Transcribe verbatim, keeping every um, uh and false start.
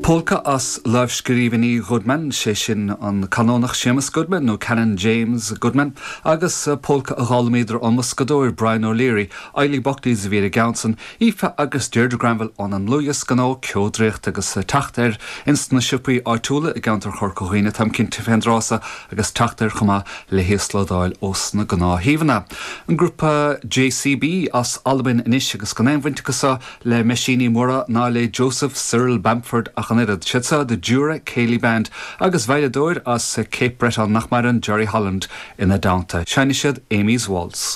Polca as lámhscríbhinní Goodman sé sin an Canónach Séamus Goodman nó Canon James Goodman, agus polca a d'fhoghlaimíodar ón mboscadóir Brian O'Leary, Eilí Buckley's a bhí i gceann Aoife agus Deirdre Granville ón an luas gná ceodréocht agus teacht air ins na siopaí áitiúla i gceantar Chorca Dhuibhne táim cinnte fén dtráth so agus teacht air chomh maith le híoslódáil ós na gnáthshuíomhanna. An grúpa JCB as Albain anois agus gan aon bhaint acu le meaisíní móra ná le Joseph Cyril Bamford ach an oiread siad seo the Jura Ceilidh Band agus veidhleadóir as Cape Breton nach maireann Jerry Holland ina dteannta. Seinnfidh siad Amy's Waltz.